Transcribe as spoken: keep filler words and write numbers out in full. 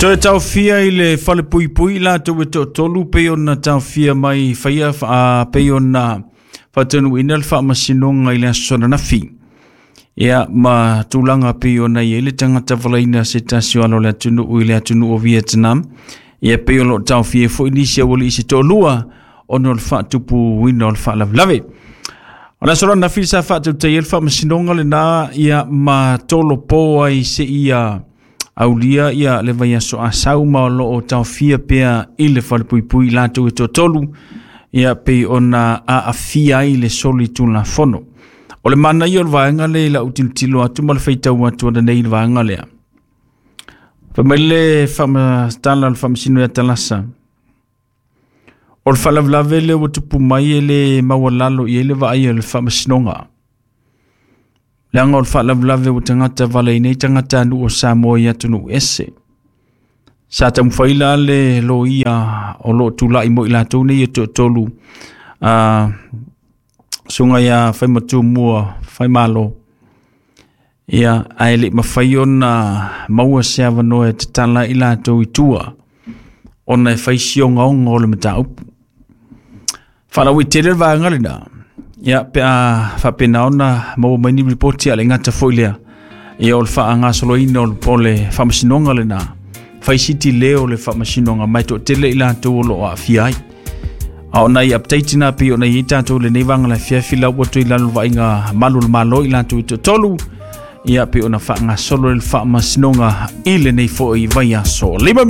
Toe taofia i le falepuipui latou e toatolu pei ona taofia mai faia a pei ona faataunuuina le faamasinoga i le aso ananafi. Ia ma tulaga pei ona i ai le tagata valaina se tasi o alo o le atunuu i le atunuu o Vietnam. Ia pei o loo taofia foi nisi aualii se toalua ona o le faatupuina o le faalavelave. O le aso ananafi sa faatautaia le faamasinoga lena ia ma tolopo ai seia aulia ia le vaiaso asau ma o loo taofia pea i le falepuipui latou e toatolu ia pei ona aafia ai le solitulafono. O le manaia o le vaega lea i lau tilotilo atu ma le faitau atu ananei i le vaega lea. Fai mai le faamatala o le faamasino ia Talasa, o le faalavelave lea ua tupu mai e le maualalo i ai le vaai o le faamasinoga. Leaga o le faalavelave ua tagata valaina ai tagatanuu o Samoa i atunuu ese. Sa taumafai la le loia o loo tulai mo i latou nei e toatolu a susuga ia Faimatu Faimalo. Ia ae le mafai ona maua se avanoa e tatala i latou i tua ona e fai si ogaoga o le mataupu. Faalauaitele le vaega lena. Ia pe a faapena ona maua mai ni ripoti a le gata foi lea. Ia o le faagasoloina o le faamasinoga lena. Fai siti leo o le faamasinoga mai toatele i latou o loo aafia ai. A o nai update na pei ona i ai tatou lenei vaega le afiafi lau ua toe i lalo o le vaaiga malu o le Malo i latou e toatolu. Ia pei ona faagasolo le faamasinoga i lenei foi vaiaso. Lima